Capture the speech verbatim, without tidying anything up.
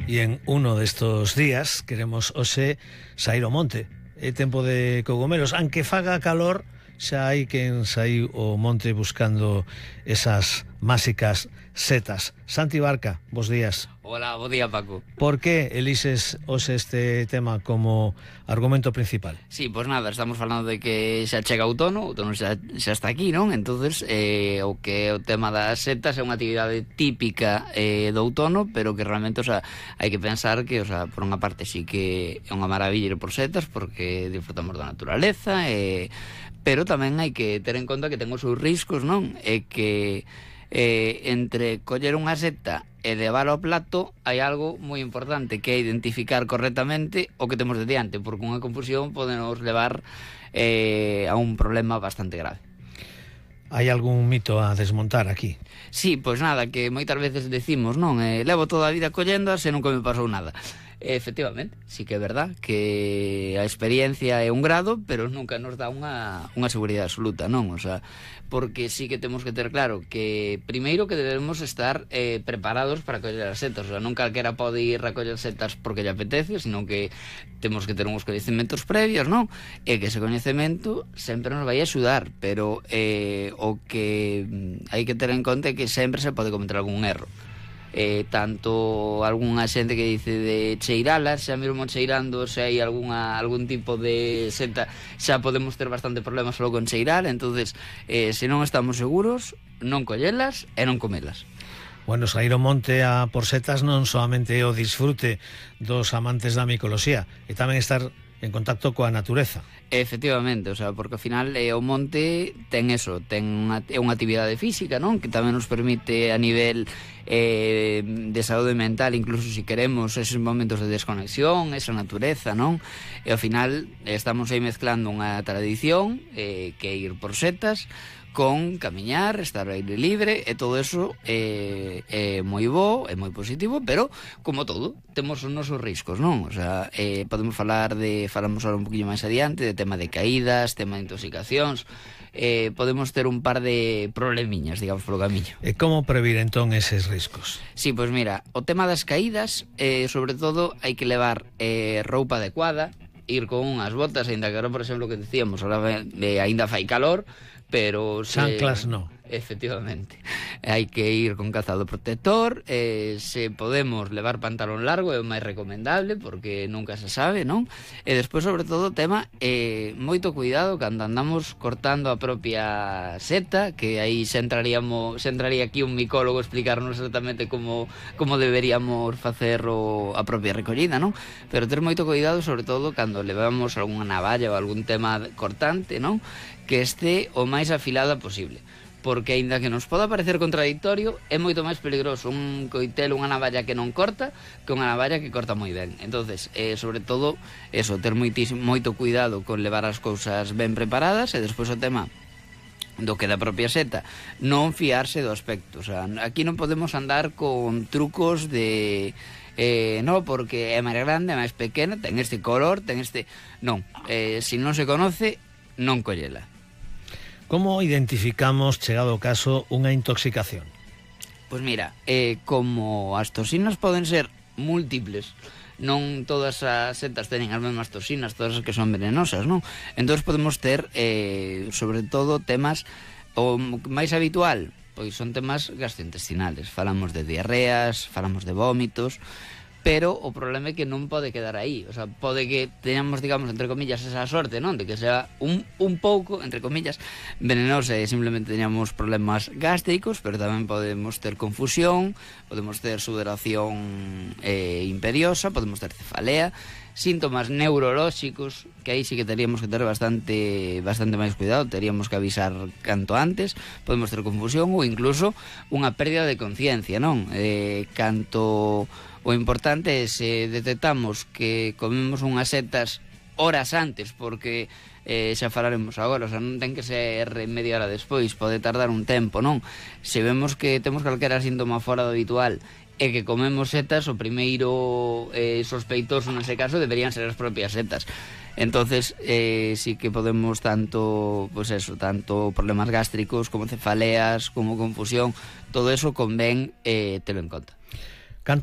Y en uno de estos días queremos hoxe sair ao monte. É tempo de cogomelos, aunque faga calor, xa hai quen saíu ao monte buscando esas máxicas setas. Santi Barca, bos días. Hola, bo día, Paco. Por que elixes hoxe este tema como argumento principal? Sí, pois pues nada, estamos falando de que xa chega outono, outono xa, xa está aquí, non? Entonces, eh, o que o tema das setas é unha actividade típica eh, do outono, pero que realmente, o sea, hai que pensar que, o sea, por unha parte sí que é unha maravilla ir por setas, porque disfrutamos da naturaleza, eh, pero tamén hai que ter en conta que ten os seus riscos, non? É que eh, entre coller unha seta e levar ao plato hai algo moi importante, que é identificar correctamente o que temos de diante, porque unha confusión pode nos levar eh, a un problema bastante grave. Hai algún mito a desmontar aquí? Sí, pois nada, que moitas veces decimos, non, eh, levo toda a vida collendas e nunca me pasou nada. Efectivamente, sí que é verdad que a experiencia é un grado, pero nunca nos dá unha, unha seguridade absoluta, non? O sea, porque sí que temos que ter claro que primeiro que debemos estar eh, preparados para coller as setas. O sea, non calquera pode ir a coller setas porque lle apetece, sino que temos que ter uns coñecementos previos, non? E que ese coñecemento sempre nos vai axudar, pero eh, o que hai que ter en conta é que sempre se pode cometer algún erro. Eh, tanto algunha xente que dice de cheiralas, xa mesmo cheirando se hai algunha, algún tipo de seta, xa podemos ter bastante problemas só con cheirar. Entonces, eh, se non estamos seguros, non collelas e non comelas. Bueno, sair ao monte a por setas non solamente é o disfrute dos amantes da micoloxía, e tamén estar en contacto coa natureza. Efectivamente, o sea, porque ao final eh, o monte ten eso, ten unha, é unha actividade física, non? Que tamén nos permite a nivel eh, de saúde mental, incluso se si queremos esos momentos de desconexión, esa natureza, non? E ao final estamos aí mezclando unha tradición eh, que é ir por setas con camiñar, estar ao aire libre, e todo eso é, é moi bo, é moi positivo, pero, como todo, temos os nosos riscos, non? O sea, eh, podemos falar de, falamos ahora un poquinho máis adiante, de tema de caídas, tema de intoxicacións, eh, podemos ter un par de problemiñas, digamos, polo camiño. E como previr entón eses riscos? Sí, pois mira, o tema das caídas, eh, sobre todo, hai que levar eh, roupa adecuada, ir con unhas botas, ainda que agora, por exemplo, que decíamos, ahora eh, ainda fai calor, pero se... Chanclas no. Efectivamente, hai que ir con calzado protector, eh, se podemos levar pantalón largo é o máis recomendable, porque nunca se sabe, non? E despois, sobre todo, o tema eh, moito cuidado cando andamos cortando a propia seta, que aí se entraríamos, se entraría aquí un micólogo a explicarnos exactamente como, como deberíamos facer o, a propia recollida, non? Pero ter moito cuidado, sobre todo, cando levamos algunha navalla ou algún tema cortante, non? Que este o máis afilada posible, porque aínda que nos poda parecer contradictorio, é moito máis peligroso un coitel, unha navalla que non corta, que unha navalla que corta moi ben. Entonces, eh, sobre todo, eso, ter moitísimo, moito cuidado con levar as cousas ben preparadas, e despois o tema do que da propia seta, non fiarse do aspecto. O sea, aquí non podemos andar con trucos de... Eh, no, porque é máis grande, é máis pequena, ten este color, ten este... Non, eh, se non se conoce, non collela. Como identificamos, chegado o caso, unha intoxicación? Pois mira, eh, como as toxinas poden ser múltiples, non todas as setas teñen as mesmas toxinas, todas as que son venenosas, non? Entón podemos ter, eh, sobre todo, temas, o máis habitual, pois son temas gastrointestinales. Falamos de diarreas, falamos de vómitos, pero o problema é que non pode quedar aí. O sea, pode que teñamos, digamos, entre comillas, esa sorte, non? De que sea un, un pouco, entre comillas, venenosa e simplemente teñamos problemas gástricos, pero tamén podemos ter confusión, podemos ter sudoración eh, imperiosa, podemos ter cefalea, síntomas neurolóxicos, que aí sí que teríamos que ter bastante bastante máis cuidado, teríamos que avisar canto antes, podemos ter confusión ou incluso unha pérdida de conciencia, non? Eh, canto... O importante é se detectamos que comemos unhas setas horas antes, porque eh, xa falaremos agora, o sea, non ten que ser media hora despois, pode tardar un tempo, non? Se vemos que temos calquera síntoma fora do habitual e que comemos setas, o primeiro eh, sospeitoso nese caso deberían ser as propias setas. Entonces, eh, sí que podemos tanto, pues eso, tanto problemas gástricos como cefaleas, como confusión, todo eso convén eh, telo en conta. Canto